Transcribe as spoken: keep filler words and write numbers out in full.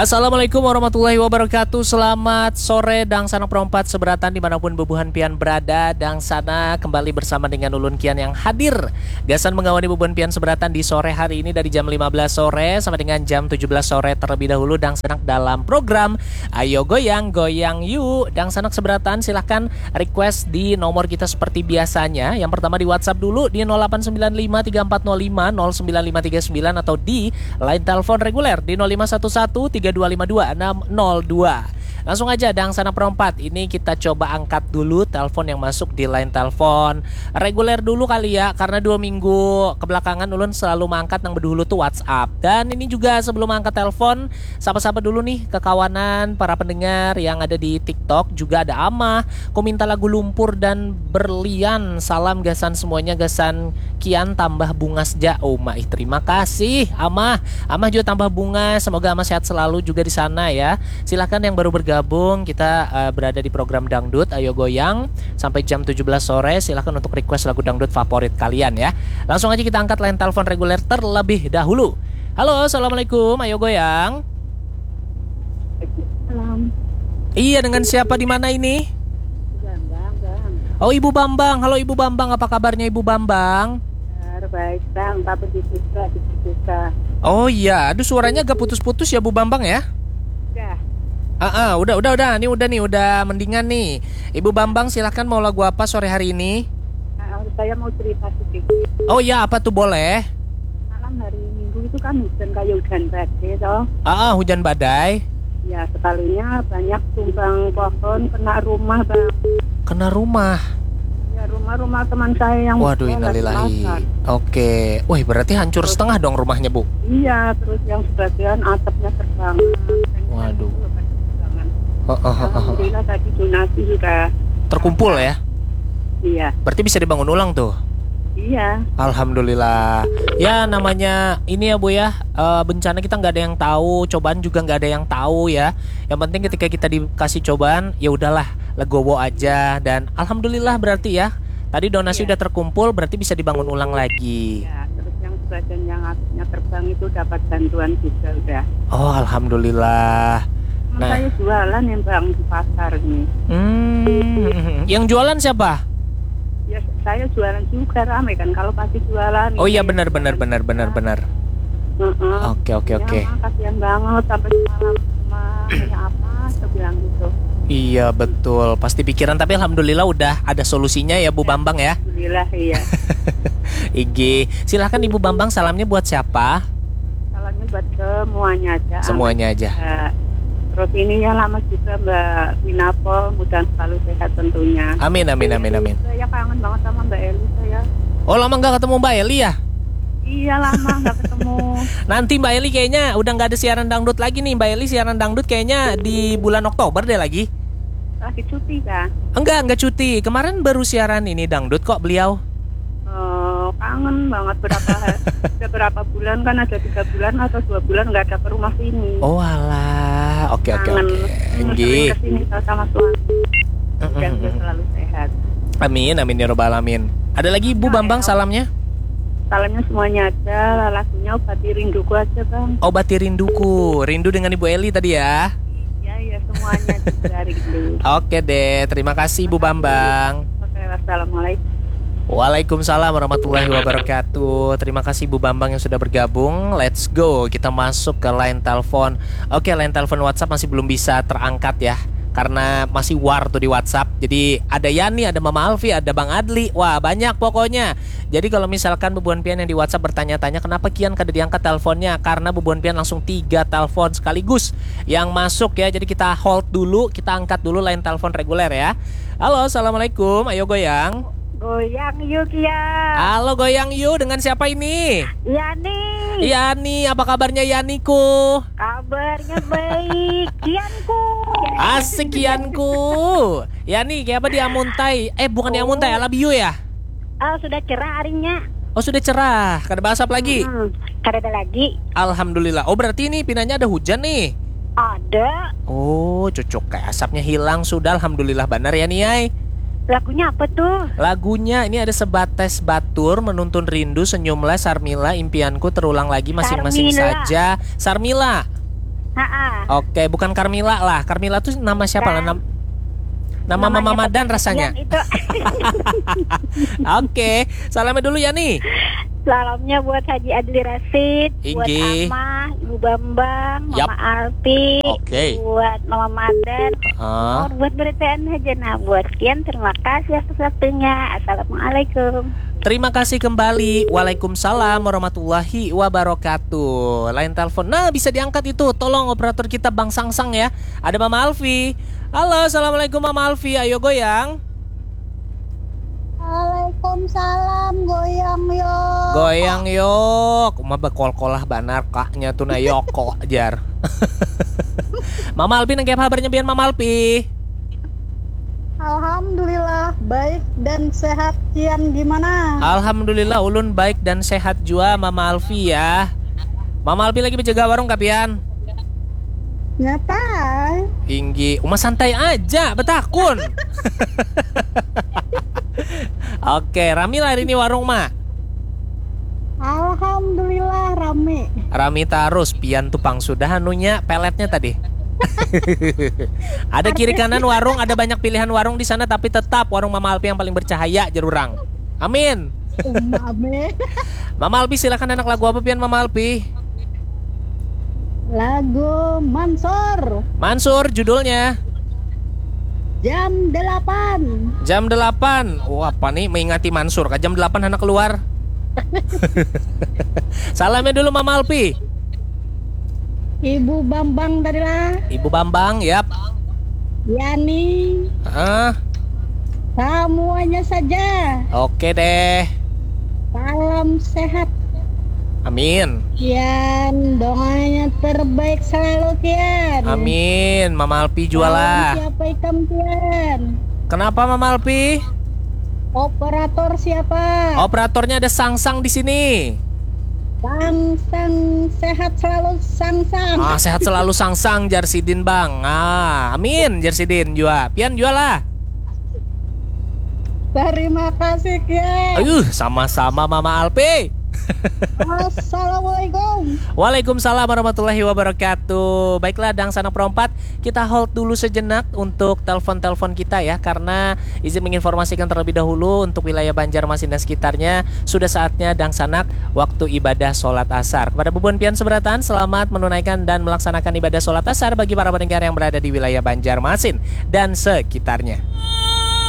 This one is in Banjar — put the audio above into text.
Assalamualaikum warahmatullahi wabarakatuh. Selamat sore dangsanak perompat seberatan dimanapun bubuhan pian berada. Dangsana kembali bersama dengan ulun kian yang hadir gasan mengawani bubuhan pian seberatan di sore hari ini dari jam lima belas sore sampai dengan jam tujuh belas sore terlebih dahulu. Dangsanak dalam program Ayo Goyang Goyang Yu. Dangsanak seberatan silahkan request di nomor kita seperti biasanya. Yang pertama di WhatsApp dulu di nol delapan sembilan lima tiga empat nol lima nol sembilan lima tiga sembilan atau di line telepon reguler di nol lima satu satu tiga dua lima dua enam nol dua. Langsung aja dangsanak perompat. Ini kita coba angkat dulu telepon yang masuk di line telepon reguler dulu kali ya, karena dua minggu kebelakangan ulun selalu mengangkat yang berdahulu tuh WhatsApp. Dan ini juga sebelum angkat telepon, sapa-sapa dulu nih kekawanan para pendengar yang ada di TikTok, juga ada Amah. Ku minta lagu Lumpur dan Berlian. Salam gasan semuanya, gasan Kian tambah bungas ja. Oh, maih, terima kasih Amah. Amah juga tambah bungas. Semoga Amah sehat selalu juga di sana ya. Silahkan yang baru bergabung, kita uh, berada di program dangdut Ayo Goyang sampai jam tujuh belas sore. Silahkan untuk request lagu dangdut favorit kalian ya. Langsung aja kita angkat line telepon reguler terlebih dahulu. Halo, assalamualaikum. Ayo Goyang. Salam. Iya, dengan siapa di mana ini? Bambang, Bang. Oh, Ibu Bambang. Halo Ibu Bambang, apa kabarnya Ibu Bambang? Kabar baik, Bang. Tapi di Suka, di Suka. Oh iya, aduh, suaranya agak putus-putus ya Bu Bambang ya? Udah. Ah, ah, udah, udah, udah. Ini udah nih, udah mendingan nih. Ibu Bambang, silahkan, mau lagu apa sore hari ini? Ah, saya mau cerita sedikit. Oh iya, apa tuh, boleh? Malam hari Minggu itu kan hujan, kayak hujan badai toh. Ah, ah, hujan badai. Ya, sekalinya banyak tumbang pohon, kena rumah, Bang. Kena rumah? Ya, rumah-rumah teman saya yang Waduh, innalillahi. Oke. Wih, berarti hancur setengah dong rumahnya, Bu? Iya, terus yang sebagian atapnya terbang. Waduh. Heeh, heeh, heeh. Alhamdulillah tadi donasi sudah terkumpul ya? Iya. Berarti bisa dibangun ulang tuh? Iya. Alhamdulillah. Ya, namanya ini ya, Bu, ya, eh, bencana kita nggak ada yang tahu, cobaan juga nggak ada yang tahu ya. Yang penting ketika kita dikasih cobaan, ya udahlah, legowo aja. Dan alhamdulillah berarti ya, tadi donasi Iya. udah terkumpul, berarti bisa dibangun ulang lagi. Ya, terus yang sebagian yang atapnya terbang itu dapat bantuan juga udah. Oh, alhamdulillah. Nah. Saya jualan ya, Bang, di pasar nih. Hmm, yang jualan siapa? Ya, saya jualan juga, rame kan kalau pasti jualan. Oh iya, benar, benar, benar, benar, benar. Heeh. Oke, oke, oke. Ya, kasihan banget sampai semalam cuma kayak apa, saya bilang gitu. Iya, betul. Pasti pikiran, tapi alhamdulillah udah ada solusinya ya, Bu Bambang ya. Alhamdulillah, iya. Igi, silahkan Ibu Bambang, salamnya buat siapa? Salamnya buat semuanya aja. Semuanya aja. Eh, terus ini ya lama juga Mbak Winapol, mudah selalu sehat tentunya. Amin, amin, amin, amin. Saya kangen banget sama Mbak Eli, saya. Oh, lama nggak ketemu Mbak Eli ya? Iya, lama nggak ketemu. Nanti Mbak Eli kayaknya udah nggak ada siaran dangdut lagi nih. Mbak Eli siaran dangdut kayaknya di bulan Oktober deh lagi. Lagi cuti kah? Enggak, enggak cuti. Kemarin baru siaran ini dangdut kok beliau. Oh, kangen banget berapa ha-, udah berapa bulan kan, ada tiga bulan atau dua bulan nggak ada ke rumah sini. Oh, alah. Oke, oke, Kangen. Oke. Hmm, Nggih. Sering ke sini sama suami. Mm, Dan mm, dia mm. selalu sehat. Amin, amin ya robbal alamin. Ada lagi Bu Bambang salamnya? Salamnya semuanya aja, lagunya Obati Rinduku aja, Bang. Obati Rinduku. Rindu dengan Ibu Eli tadi ya. Iya, iya, semuanya juga rindu. Oke deh, terima kasih Bu Bambang. Oke, wassalamualaikum. Waalaikumsalam warahmatullahi wabarakatuh. Terima kasih Bu Bambang yang sudah bergabung. Let's go, kita masuk ke line telepon. Oke, line telepon WhatsApp masih belum bisa terangkat ya, karena masih war tuh di WhatsApp. Jadi ada Yani, ada Mama Alfi, ada Bang Adli. Wah, banyak pokoknya. Jadi kalau misalkan bubuhan pian yang di WhatsApp bertanya-tanya kenapa kian kada diangkat teleponnya, karena bubuhan pian langsung tiga telepon sekaligus yang masuk ya. Jadi kita hold dulu, kita angkat dulu line telepon reguler ya. Halo, assalamualaikum. Ayo goyang. Goyang yuk ya. Halo, goyang yuk. Dengan siapa ini? Yani. Yani, apa kabarnya Yaniku? Kabarnya baik. Kianku. Asik Kianku. Yani, kayak apa di Amuntai? Eh, bukan di Amuntai, Alabiu ya? Oh, sudah cerah harinya. Oh, sudah cerah. Kada basap lagi? Hmm, kada ada lagi. Alhamdulillah. Oh, berarti ini pinanya ada hujan nih? Ada. Oh, cucuk kayak asapnya hilang sudah. Alhamdulillah banar ya, Niai. Lagunya apa tuh? Lagunya ini ada Sebates Batur, Menuntun Rindu, Senyumlah, Sarmila, Impianku, Terulang Lagi, Masing-masing Sarmila. Saja. Sarmila. Ha-ah. Oke, bukan Carmila lah. Carmila tuh nama siapa lah? Nam- nama Mama Madan rasanya. Itu. Oke, salamnya dulu ya nih. Salamnya buat Haji Adli Rasid, buat Ama, Ibu Bambang, Mama Alpi, buat Mama Madan, oh, buat beritaan aja nah buat Kian. Terima kasih atas waktunya. Assalamualaikum. Terima kasih kembali. Waalaikumsalam warahmatullahi wabarakatuh. Lain telepon. Nah, bisa diangkat itu. Tolong operator kita Bang Sangsang ya. Ada Mama Alfi. Halo, assalamualaikum Mama Alfi. Ayo goyang. Waalaikumsalam, goyang yok. Goyang yok. Uma bekolkolah banar kaknya tuh nah yoko jar. Mama Alfi, nang kabarnya pian Mama Alfi? Alhamdulillah, baik dan sehat. Kian gimana? Alhamdulillah, ulun baik dan sehat jua, Mama Alfi ya. Mama Alfi lagi menjaga warung kapian? Nyata. Tinggi, uma santai aja, betakun. Oke, rami lah hari ini warung, Ma? Alhamdulillah, rami. Rami tarus, pian tuh pang sudah anunya, peletnya tadi. Ada kiri kanan warung, ada banyak pilihan warung di sana, tapi tetap warung Mama Alfi yang paling bercahaya, jar urang. Amin. Amin. Mama Alfi, silakan, anak lagu apa pian, Mama Alfi? Lagu Mansur. Mansur, judulnya? Jam delapan. Jam delapan. Oh, apa nih, mengingati Mansur kah jam delapan anak keluar? Salamnya dulu Mama Alfi. Ibu Bambang tadi lah. Ibu Bambang, yap. Yani. Heeh. Semuanya saja. Oke deh. Salam sehat. Amin. Kian, doanya terbaik selalu, Kian. Amin. Mama Alfi jua lah. Salam siapa ikam, Kian? Kenapa, Mama Alfi? Operator siapa? Operatornya ada Sangsang di sini. Sangsang, sehat selalu, Sangsang. Ah, sehat selalu, Sangsang, jar sidin, Bang. Ah, amin, jar sidin jua. Pian jua lah. Terima kasih, Kian. Ayuh, sama-sama, Mama Alfi. Assalamualaikum. Waalaikumsalam warahmatullahi wabarakatuh. Baiklah, Dangsanak Perompat, kita hold dulu sejenak untuk telepon-telepon kita ya, karena izin menginformasikan terlebih dahulu untuk wilayah Banjarmasin dan sekitarnya, sudah saatnya Dangsanak waktu ibadah sholat asar. Kepada bubuhan pian seberataan, selamat menunaikan dan melaksanakan ibadah sholat asar bagi para pendengar yang berada di wilayah Banjarmasin dan sekitarnya.